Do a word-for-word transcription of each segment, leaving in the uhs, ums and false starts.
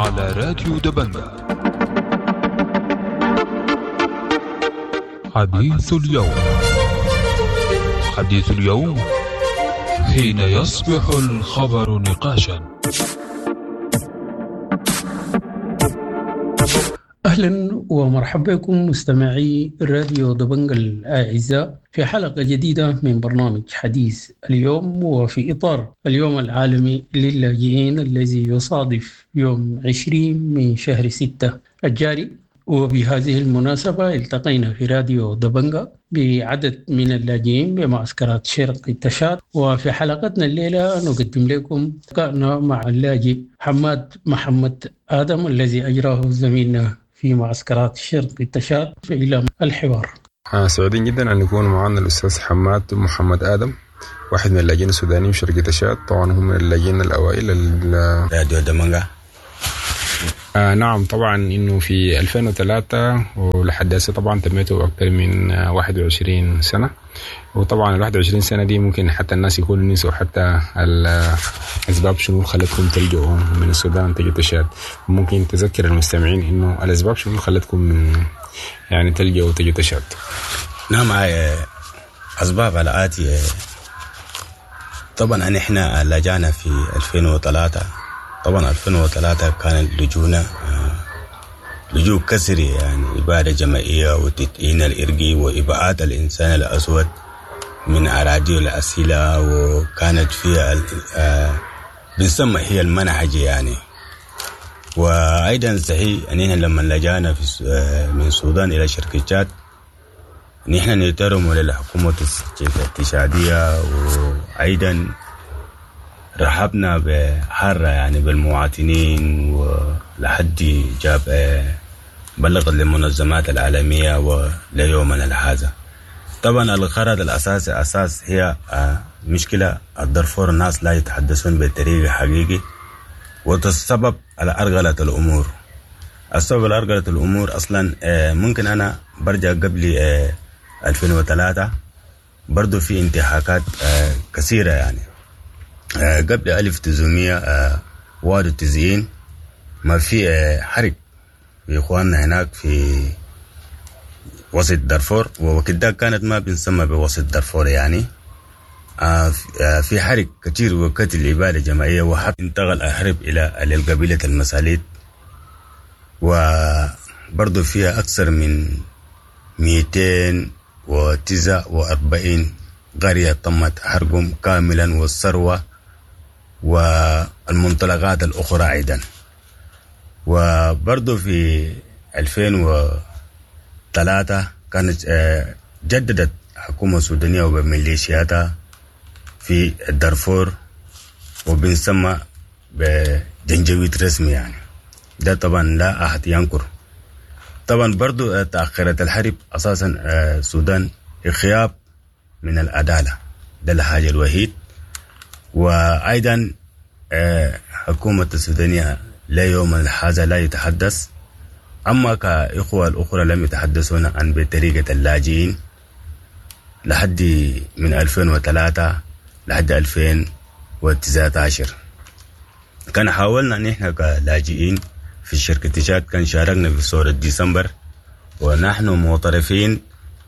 على راديو دبنجة. حديث اليوم، حديث اليوم حين يصبح الخبر نقاشا. أهلا ومرحبا بكم مستمعي راديو دبنجة الأعزاء في حلقة جديدة من برنامج حديث اليوم، وفي إطار اليوم العالمي للاجئين الذي يصادف يوم عشرين من شهر ستة الجاري. وبهذه المناسبة التقينا في راديو دبنجة بعدد من اللاجئين بمعسكرات شرق تشاد، وفي حلقتنا الليلة نقدم لكم لقاءنا مع اللاجئ حماد محمد آدم الذي أجراه زميلنا في معسكرات شرق تشاد. إلى الحوار. سعيدين جدا أن يكون معنا الأستاذ حماد محمد آدم، واحد من اللاجئين السودانيين في شرق تشاد، طبعا هم من اللاجئين الأوائل. راديو دبنجة. آه نعم، طبعا انه في ألفين وثلاثة ولحد هسه طبعا تميته اكثر من واحد وعشرين سنة، وطبعا ال واحد وعشرين سنة دي ممكن حتى الناس يكونوا نسوا حتى الاسباب شنو خلتكم تلجؤوا من السودان تجوا تشاد. ممكن تذكر المستمعين انه الاسباب شنو خلتكم من يعني تلجؤوا تجوا تشاد؟ نعم، اسباب الاتي. طبعا احنا لجأنا في ألفين وثلاثة. طبعا ألفين وثلاثة كان لجونا لجوء كسري، يعني إبادة جماعية وتدعين الإرقي وإبعاد الإنسان الأسود من أراضيه الأصيلة، وكانت فيها بنسمى هي المنهج يعني. وأيضا صحيح أننا لما لجأنا في من السودان إلى شرق تشاد نحن نحترم للحكومة التشادية، وأيضا رحبنا بحارة يعني بالمواطنين، ولحد جاب بلغت للمنظمات العالمية وليومنا هذا. طبعا الغرض الأساسي أساس هي مشكلة الدارفور، الناس لا يتحدثون بطريقة حقيقي، والسبب على أرغلة الأمور. السبب على أرغلة الأمور أصلا ممكن أنا برجع قبل ألفين وثلاثة برضو في انتهاكات كثيرة يعني. قبل ألف وتسعمية وواحد وتسعين ما في حرب في إخواننا هناك في وسط دارفور، وكده كانت ما بنسمى بوسط دارفور يعني. في حرب كتير وقتل إبادة جماعية، وحتى انتقل الحرب إلى القبيلة المساليت، وبرضو فيها أكثر من مئتين وتسعة وأربعين قرية تمت حرقهم كاملا، والثروة والمنطلقات الأخرى أيضا. وبرضو في ألفين وثلاثة كانت جددت الحكومة السودانية وميليشياتها في الدارفور، وبنسمى بجنجويت رسمي يعني. ده طبعا لا أحد ينكر. طبعا برضو تأخرت الحرب أساسا السودان غياب من العدالة، ده الحاجة الوحيد. وأيضا حكومة السودانية لا يوم هذا لا يتحدث، أما كإخوة الأخرى لم يتحدثون عن بطريقة اللاجئين لحد من ألفين وثلاثة لحد ألفين وتسعة عشر. كان حاولنا نحن كلاجئين في شركة تشاد، كان شاركنا في ثورة ديسمبر، ونحن معترفين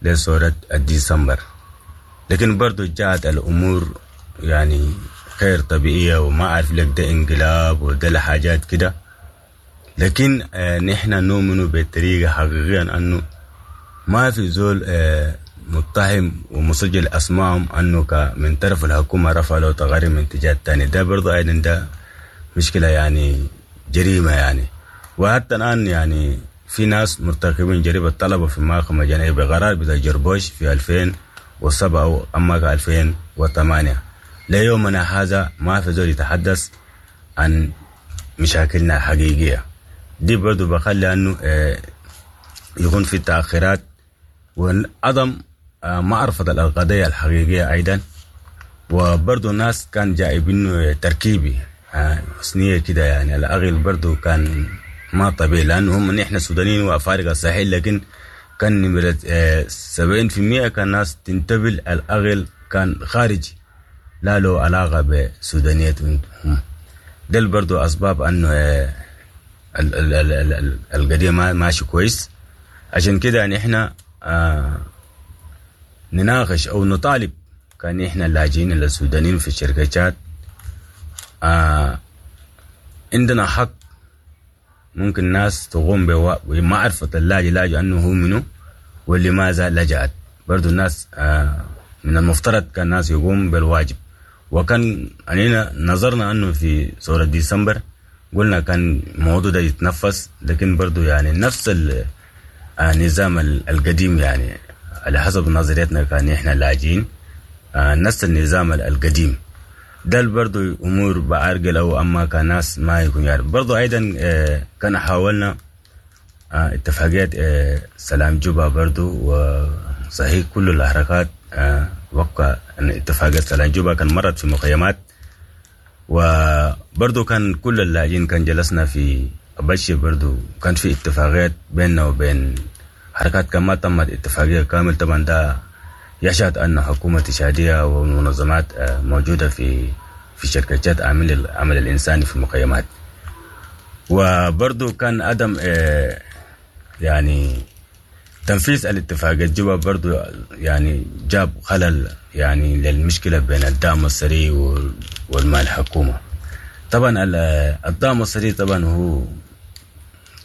لثورة ديسمبر، لكن برضو جاءت الأمور يعني غير طبيعية، وما أعرف لك ده انقلاب وده الحاجات كده. لكن آه نحن نؤمن بطريقة حقيقية أنه ما في زول آه متهم ومسجل أسمائهم أنه من طرف الحكومة رفع له تقارير من اتجاه الثاني. ده برضو أيضا ده مشكلة يعني جريمة يعني. وحتى الآن يعني في ناس مرتكبين جريمة طلبة في محكمة جنائية بقرار بتاع جربوش في ألفين وسبعة أما ألفين وثمانية. ليومنا هذا ما في زول يتحدث عن مشاكلنا الحقيقية دي. برضو بخلي أنه يكون في تأخيرات وعدم معرفة القضية الحقيقية أيضا. وبرضو الناس كان جايبينه تركيبي حسنية كده يعني، الأغل برضو كان ما طبيعي، لأنه هم نحن سودانيين وأفارقة صحيح، لكن كان نمرة سبعين في المية كان ناس تنتبه الأغل كان خارجي لا له علاقة بسودانيتهم. دل برضو أسباب أنه ال- ال- ال- ال- القضية ما ماشي كويس. عشان كده يعني احنا آه نناقش او نطالب كان احنا اللاجئين السودانيين في الشركات آه عندنا حق، ممكن ناس تقوم بوا- بمعرفة اللاجئ لاجئ أنه هو منه ولماذا لجأت. برضو الناس آه من المفترض كان الناس يقوم بالواجب. وكان علينا نظرنا أنه في ثورة ديسمبر قلنا كان الموضوع ده يتنفس، لكن برضو يعني نفس ال- آه، النظام ال- القديم يعني على حسب نظريتنا كان إحنا لاجئين آه، نفس النظام ال- القديم ده برضو امور بعرقل او اما كان ناس ما يكون يعرف. برضو ايضا آه، كان حاولنا آه، اتفاقية آه، سلام جوبا برضو، وصحيح كل الحركات آه، وقع أن اتفاقية سلام جوبا كان مرت في مخيمات، وبرضو كان كل اللاجئين كان جلسنا في أبشي، برضو كان في اتفاقيات بيننا وبين حركات كان ما تمت اتفاقية كامل. طبعا ده يشهد أن حكومة تشادية ومنظمات آه، موجودة في في شركات عمل العمل الإنساني في المخيمات. وبرضو كان عدم آه، يعني تنفيذ الاتفاقية جوبا برضو يعني جاب خلل يعني للمشكلة بين الدعم السري وال- والمال الحكومة. طبعا ال- الدعم السري طبعا هو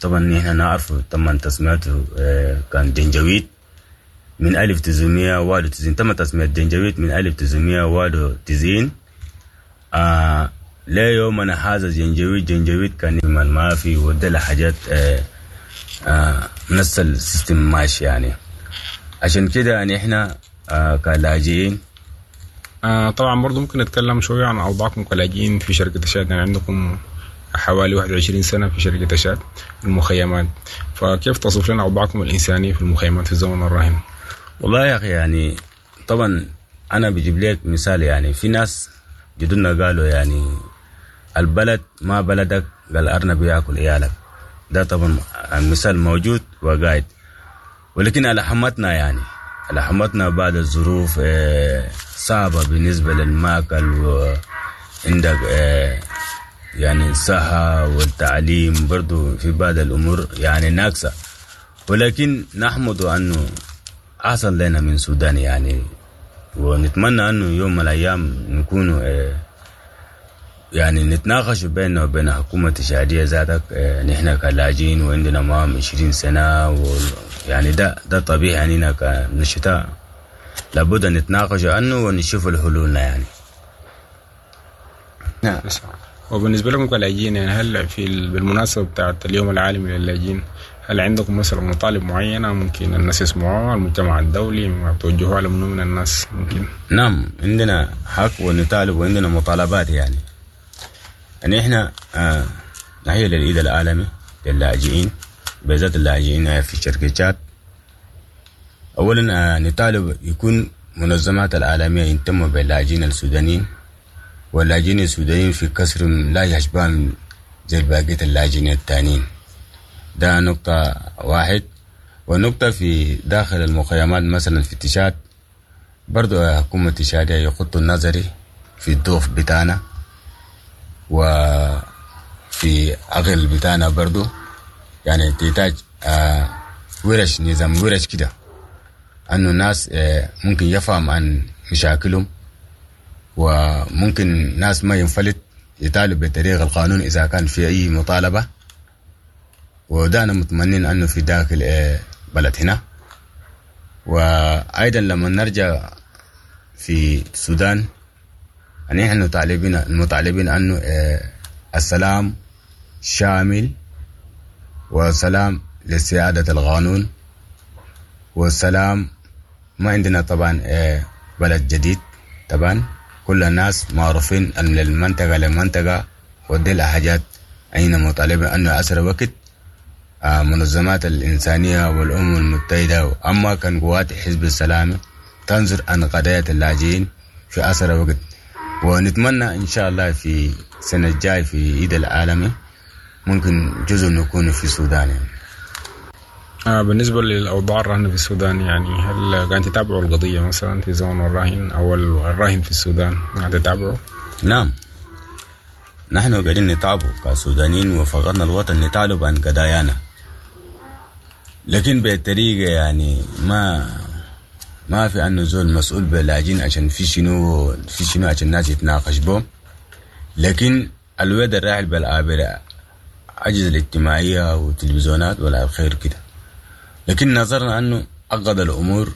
طبعا نحن نعرفه، طبعا تسميته آه، كان جنجويد من ألف تسعمية واحد وتسعين، تم تسمية جنجويد من ألف تسعمية واحد وتسعين آه لا يومنا هذا جنجويد جنجويد كان من ما في ودل حاجات آه آه نفس ال system ماشي يعني. عشان كده يعني احنا آه كلاجئين آه طبعا برضو ممكن نتكلم شوية عن أوضاعكم كلاجئين في شركة تشاد. يعني عندكم حوالي واحد وعشرين سنة في شركة تشاد المخيمات، فكيف تصف لنا أوضاعكم الإنسانية في المخيمات في الزمن الراهن؟ والله يا أخي يعني طبعا أنا بجيب لك مثال، يعني في ناس جدودنا قالوا يعني البلد ما بلدك قال أرنب ياكل عيالك، ده طبعا المثال موجود وقاعد، ولكن على حمتنا يعني على حمتنا بعد الظروف آه، صعبة بالنسبة للماكل، وعندك آه، يعني الصحة والتعليم برضو في بعض الأمور يعني ناقصة، ولكن نحمد أنه أحسن لنا من السودان يعني، ونتمنى أنه يوم من الأيام نكون آه، يعني نتناقش بيننا وبين حكومة التشادية ذاتك. آه، نحن كلاجئين وعندنا معهم عشرين سنة و يعني ده ده طبيعي يعني كنشطاء لابد أن نتناقش عنه ونشوف الحلول يعني. نعم. وبالنسبة لكم كلاجئين يعني هل في ال- بالمناسبة بتاعت اليوم العالمي للاجئين هل عندكم مثلا مطالب معينة ممكن الناس يسمعوها، المجتمع الدولي ما توجهوها لمنو من الناس ممكن؟ نعم عندنا حق ونطالب وعندنا مطالبات يعني. يعني احنا آه نحيي للعيد العالمي للاجئين بالذات اللاجئين في شركات. اولا آه نطالب يكون منظمات العالمية يهتموا باللاجئين السودانيين، واللاجئين السودانيين في كسر لا يشبه زي بقية اللاجئين التانيين. ده نقطة واحد. ونقطة في داخل المخيمات مثلا في تشاد برضو حكومة تشادية يخطوا النظري في الضعف بتاعنا وفي أغل بتاعنا برضو، يعني تحتاج آه ورش نظام ورش كده أنه الناس آه ممكن يفهم عن مشاكلهم، وممكن ناس ما ينفلت يطالب بطريق القانون إذا كان في أي مطالبة. وده أنا متمنين أنه في داخل آه بلد هنا. وأيضا لما نرجع في السودان يعني نحن مطالبين المطالبين أنه آه السلام شامل وسلام لسيادة القانون والسلام. ما عندنا طبعا آه بلد جديد، طبعا كل الناس معروفين أن للمنطقة للمنطقة، ودي الحاجات أين مطالبين أنه أسرع وقت آه منظمات الإنسانية والأمم المتحدة أما كان قوات حزب السلام تنظر عن قضايا اللاجئين في أسرع وقت. ونتمنى إن شاء الله في السنة الجاية في عيد العالمي ممكن جزء نكون في السودان يعني. آه بالنسبة للأوضاع الراهنة في السودان يعني هل قاعد تتابعوا القضية مثلا في زمن الراهن أو الراهن في السودان قاعد تتابعوا؟ نعم نحن قاعدين نتعبوا كسودانيين وفقدنا الوطن، نتعلب عن قضايانا، لكن بطريقة يعني ما ما في أنه زول مسؤول باللاجئين عشان في شنو في شنو عشان الناس يتناقش به. لكن الوضع الراحل بالعابر أجهزة الاجتماعية والتلفزيونات ولا خير كده، لكن نظرنا أنه عقد الأمور،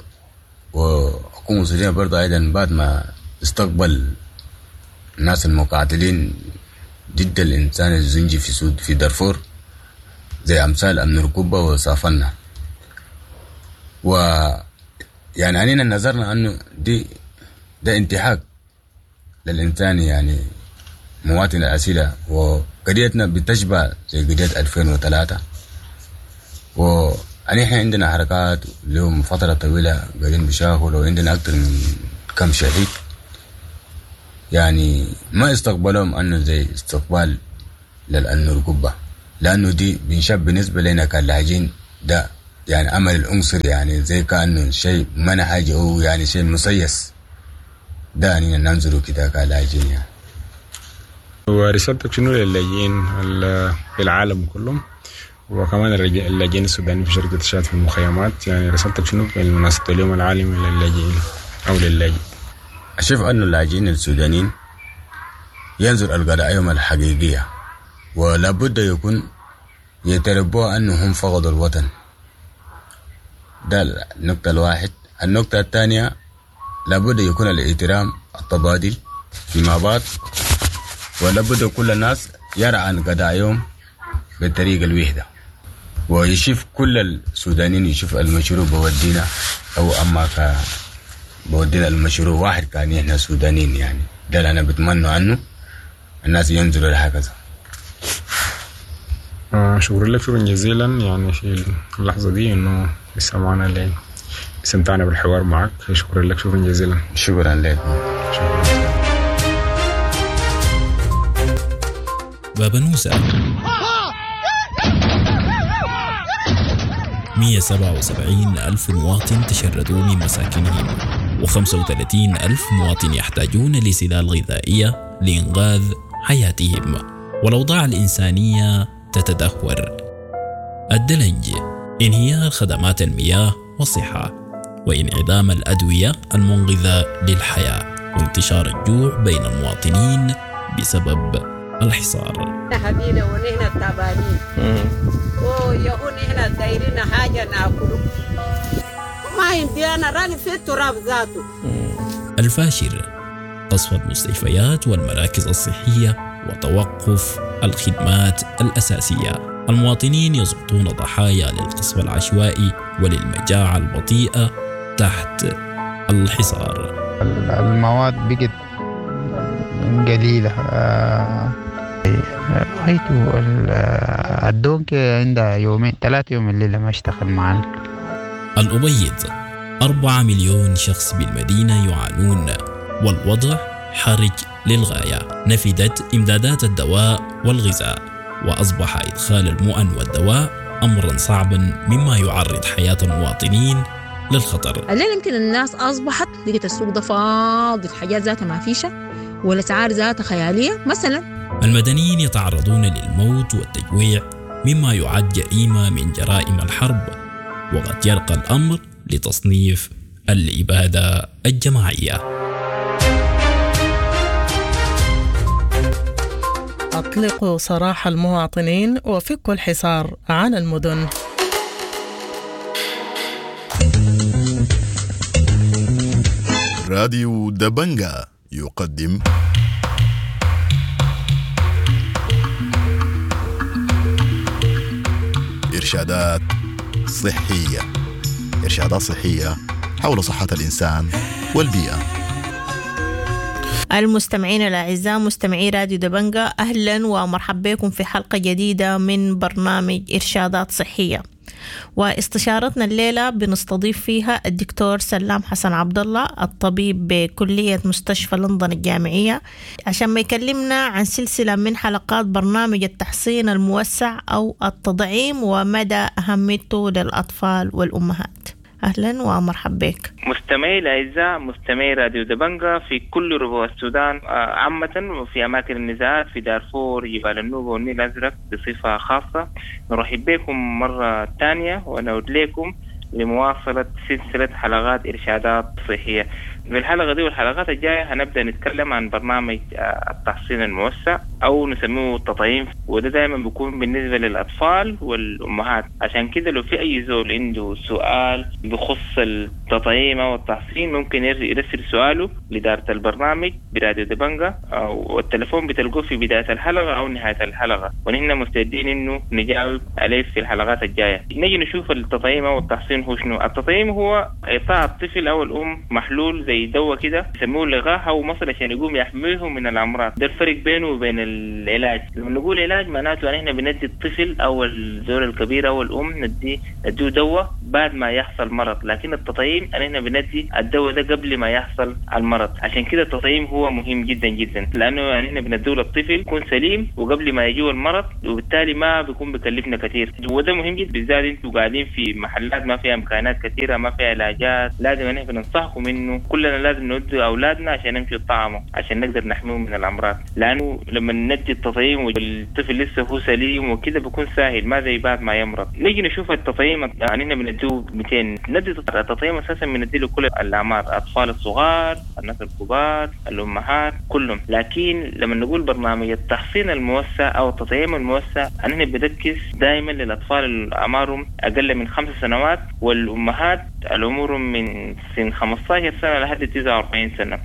وحكومة السودانية برضه أيضا بعد ما استقبل الناس المقاتلين ضد الإنسان الزنجي في سود في دارفور زي أمثال أمن ركوبة وصافنا، و يعني علينا نظرنا أنه دي ده انتهاك للإنسان يعني مواطن الأسئلة، وقضيتنا بتشبه زي قضية ألفين وثلاثة. ونحن عندنا حركات لهم فترة طويلة قاعدين بيشاغلوا، وعندنا أكثر من كم شهيد، يعني ما استقبلهم أنه زي استقبال للأنور قبة، لأنه دي بنشاب بالنسبة لنا كلاجين ده يعني أمل العنصر، يعني زي كأنه شيء منهج أو يعني شيء مسيس، ده يعني ننظره كده كلاجين يعني. ورسالتك شنو للاجئين في العالم كلهم، وكمان اللاجئين السودانيين في شركة الشاد في المخيمات، يعني رسالتك شنو بمناسبة اليوم العالمي للاجئين أو للاجئ؟ أشوف أن اللاجئين السودانيين ينظر القضايا الحقيقية، ولا بد يكون يتربوا أنهم فقدوا الوطن، ده النقطة الواحد. النقطة الثانية لابد يكون الاحترام التبادل فيما بعد، ولابد كل الناس يرى عن قضاياهم بالطريقة الوحدة، ويشوف كل السودانيين يشوف المشروع بودينا أو أما ك بودينا المشروع واحد كان إحنا سودانيين، يعني ده اللي أنا بتمنى عنه الناس ينزلوا لهكذا. آه شكرا لك شكرا جزيلا، يعني في اللحظة دي إنه لسه معنا اللي استمتعنا بالحوار معك، شكرا لك شكرا جزيلا. شكرا لك. شكرا. بابنوسة مئة وسبعة وسبعين ألف مواطن تشردوا من مساكنهم، وخمسة وثلاثين ألف مواطن يحتاجون لسلال غذائية لإنقاذ حياتهم، والأوضاع الإنسانية تتدهور. الدلنج، انهيار خدمات المياه والصحة، وانعدام الأدوية المنقذة للحياة، وانتشار الجوع بين المواطنين بسبب الحصار. حبينا ونحن تعبانين ويهون نحن دايرين حاجة ناكله ما عندي أنا راني في التراب ذاته. الفاشر، قصف المستشفيات والمراكز الصحية وتوقف الخدمات الأساسية. المواطنين يسقطون ضحايا للقصف العشوائي وللمجاعة البطيئة تحت الحصار. المواد بقت قليلة، رأيته الدونك عندها يومين ثلاثة يوم الليلة ما اشتغل معنا. الأبيض، أربعة مليون شخص بالمدينة يعانون والوضع حرج للغاية. نفدت إمدادات الدواء والغذاء، وأصبح إدخال المؤن والدواء أمرا صعبا مما يعرض حياة المواطنين للخطر. الليلة يمكن الناس أصبحت لقيت السوق ده فاضي، الحاجات ذاتها ما فيشة والأسعار ذاتها خيالية مثلا. المدنيين يتعرضون للموت والتجويع مما يعد جريمة من جرائم الحرب، وقد يرقى الأمر لتصنيف الإبادة الجماعية. أطلقوا سراح المواطنين وفكوا الحصار عن المدن. راديو دبنجا يقدم إرشادات صحية. إرشادات صحية حول صحة الإنسان والبيئة. المستمعين الأعزاء مستمعي راديو دبنجا، أهلا ومرحبا بكم في حلقة جديدة من برنامج إرشادات صحية. واستشارتنا الليلة بنستضيف فيها الدكتور سلام حسن عبد الله، الطبيب بكلية مستشفى لندن الجامعية، عشان ما يكلمنا عن سلسلة من حلقات برنامج التحصين الموسع أو التطعيم ومدى أهميته للأطفال والأمهات. أهلا ومرحبا بك. مستمعي الأعزاء، مستمعي راديو دبنجا في كل ربوع السودان عامة وفي أماكن النزاعات في دارفور، جبال النوبة والنيل الأزرق بصفة خاصة، نرحب بكم مرة ثانية ونعود لكم لمواصلة سلسلة حلقات إرشادات صحية. في الحلقة دي والحلقات الجاية هنبدأ نتكلم عن برنامج التحصين الموسع أو نسميه التطعيم، وده دائما بيكون بالنسبة للأطفال والأمهات. عشان كده لو في أي زول عنده سؤال بخص التطعيم أو التحصين ممكن يرسل سؤاله لإدارة البرنامج براديو دبنجا، والتلفون بتلقوه في بداية الحلقة أو نهاية الحلقة، ونحن مستعدين إنه نجاوب عليه في الحلقات الجاية. نيجي نشوف التطعيم أو التحصين هو شنو. التطعيم هو إعطاء الطفل أو الأم محلول زي دواء كده يسموه لقاح أو مصل عشان يقوم يحميه من الأمراض. ده الفرق بينه وبين العلاج. لما نقول علاج معناته ان احنا بندي الطفل او الزول الكبير او الام ندي نديه دواء بعد ما يحصل مرض، لكن التطعيم ان احنا بندي الدواء ده قبل ما يحصل المرض. عشان كده التطعيم هو مهم جدا جدا، لانه يعني احنا بنديه للطفل يكون سليم وقبل ما يجيه المرض، وبالتالي ما بيكون بكلفنا كثير. وده مهم جدا بالذات انتوا قاعدين في محلات ما فيها امكانات كثيره، ما فيها علاجات. لازم ان احنا بننصحكم انه كلنا لازم ندي اولادنا عشان نمشي يطعموا عشان نقدر نحميهم من الامراض، لانه لما ندي التطعيم والطفل لسه هو سليم وكده بيكون سهل، ما زي بعد ما يمرض. نيجي نشوف التطعيم، يعني احنا بنديه مئتين. ندي التطعيم اساسا بنديه لكل الاعمار، الاطفال الصغار، الناس الكبار، الامهات، كلهم. لكن لما نقول برنامج التحصين الموسع او التطعيم الموسع احنا بنركز دائما للاطفال اللي اعمارهم اقل من خمس سنوات والامهات العمر من سن خمسة عشر سنه لحد تسعة وأربعين سنه.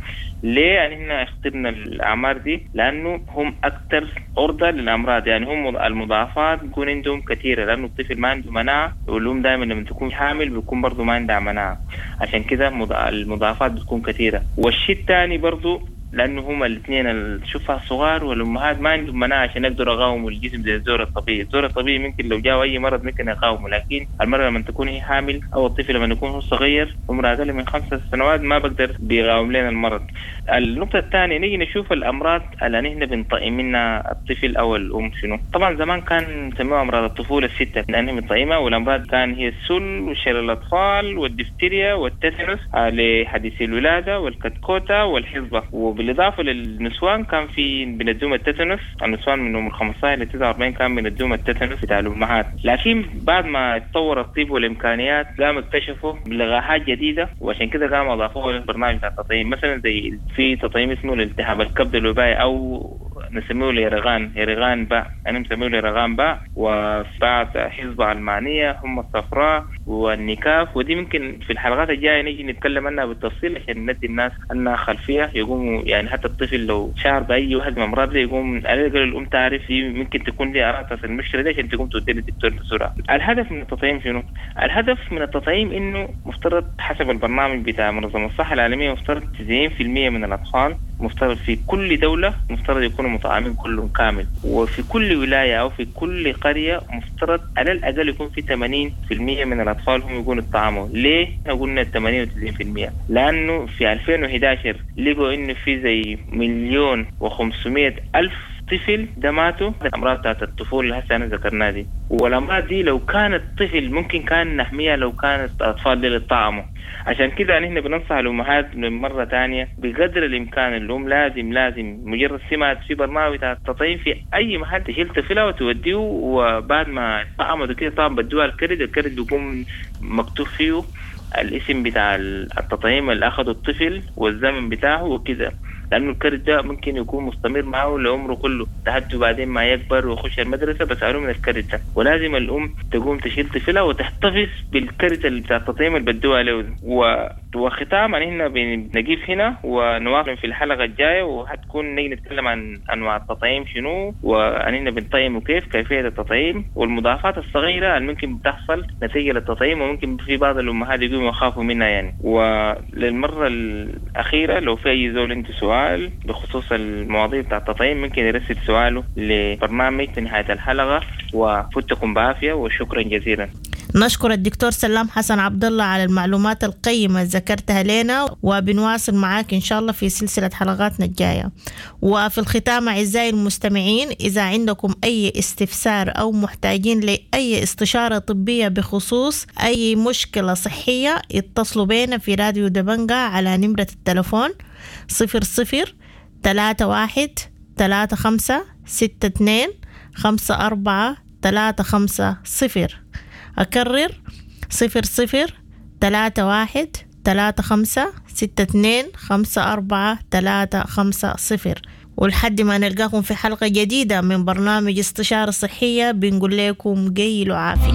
ليه يعني احنا اخترنا الاعمار دي؟ لانه هم اكثر عرضه للامراض، يعني هم المضاعفات بيكون عندهم كثيره، لانه الطفل ما عنده مناعه، والام دائما لما تكون حامل بيكون برضه ما عندها مناعه، عشان كده المضاعفات بتكون كثيره. والشيء الثاني برضه لانه هم الاثنين الشفع الصغار والامهات ما عندهم مناعه عشان يقدروا يقاوموا الجسم زي الزور الطبيعي. الزور الطبيعي ممكن لو جاء اي مرض ممكن يقاومه، لكن المرأة لما تكون هي حامل او الطفل لما يكون هو صغير عمره اقل من خمسة سنوات ما بقدر بيقاوم لنا المرض. النقطة الثانية نيجي نشوف الامراض اللي نحن بنطعم منها الطفل او الام شنو. طبعا زمان كان نسميها امراض الطفولة الستة لانها بنطعمها، والامراض كان هي السل وشلل الاطفال والدفتيريا والتتنس لحديثي الولادة والكتكوتة والحصبة. وبالإضافة للنسوان كان في بندوم التتنس، النسوان من عمر خمسة عشر ل تسعة وأربعين كان بندوم التتنس بتاع الأمهات. لكن بعد ما اتطور الطب والإمكانيات قام اكتشفوا لقاحات جديدة، وعشان كده قام أضافوها للبرنامج بتاع التطعيم. مثلا زي في تطعيم اسمه الالتهاب الكبد الوبائي أو نسميه اليرغان، يرغان باء، أنا مسميه اليرغان باء، وبعض حصبة ألمانية، هم الصفراء والنكاف. ودي ممكن في الحلقات الجاية نيجي نتكلم عنها بالتفصيل عشان ندي الناس أنها خلفية يقوموا، يعني حتى الطفل لو شعر بأي واحد من الأمراض دي يقوم على الأقل الأم تعرف ممكن تكون دي أعراض المشكلة دي عشان تقوم تودي للدكتور بسرعة. الهدف من التطعيم شنو؟ الهدف من التطعيم إنه مفترض حسب البرنامج بتاع منظمة الصحة العالمية مفترض تسعين بالمئة من الأطفال مفترض في كل دولة مفترض يكونوا مطعمين كلهم كامل، وفي كل ولاية أو في كل قرية مفترض على الأقل يكون في ثمانين بالمئة من الأطفال هم يكونوا اتطعموا. ليه احنا قلنا ثمانين وتسعين بالمئة؟ لأنه في ألفين وإحدى عشر لقوا إنه في زي مليون وخمسمائة ألف طفل ده ماتوا الأمراض بتاعت الطفولة اللي هسه أنا ذكرناها دي. والأمراض دي لو كانت طفل ممكن كان نحميها لو كانت الأطفال دي اللي اتطعموا. عشان كده نحن بننصح الأمهات من مرة تانية بقدر الإمكان الأم لازم لازم مجرد سمعت في برنامج بتاع التطعيم في أي محل تشيل طفلها وتوديه، وبعد ما طعمت وكده طبعا بدوها الكرد، الكرد بيكون مكتوب فيه الاسم بتاع التطعيم اللي أخده الطفل والزمن بتاعه وكده، لأنه الكرد ده ممكن يكون مستمر معه لعمره كله لحد بعدين ما يكبر ويخش المدرسة بسألوه من الكرد ده. ولازم الأم تقوم تشيل طفلها وتحتفظ بالكرد اللي بتاع التطعيم اللي بدوها له. و... وختاما هنا بنقيف هنا ونواصل في الحلقة الجاية، وحتكون نيجي نتكلم عن أنواع التطعيم شنو، وأننا بنطعم وكيف كيفية التطعيم، والمضاعفات الصغيرة اللي ممكن بتحصل نتيجة للتطعيم وممكن في بعض الأمهات يقوموا يخافوا منها يعني. وللمرة الأخيرة لو في أي زول عنده سؤال بخصوص المواضيع بتاع التطعيم ممكن يرسل سؤاله لبرنامج في نهاية الحلقة. وفتكم بعافية وشكرا جزيلا. نشكر الدكتور سلام حسن عبد الله على المعلومات القيمة اللي ذكرتها لنا، وبنواصل معاك إن شاء الله في سلسلة حلقاتنا الجاية. وفي الختام أعزائي المستمعين، إذا عندكم أي استفسار أو محتاجين لأي استشارة طبية بخصوص أي مشكلة صحية، اتصلوا بينا في راديو دبنجا على نمرة التلفون صفر صفر تلاتة واحد تلاتة خمسة ستة اتنين خمسة أربعة تلاتة خمسة صفر. أكرر صفر صفر تلاتة واحد تلاتة خمسة ستة اتنين خمسة أربعة تلاتة خمسة صفر. ولحد ما نلقاكم في حلقة جديدة من برنامج استشارة صحية، بنقول لكم قيلوا عافية.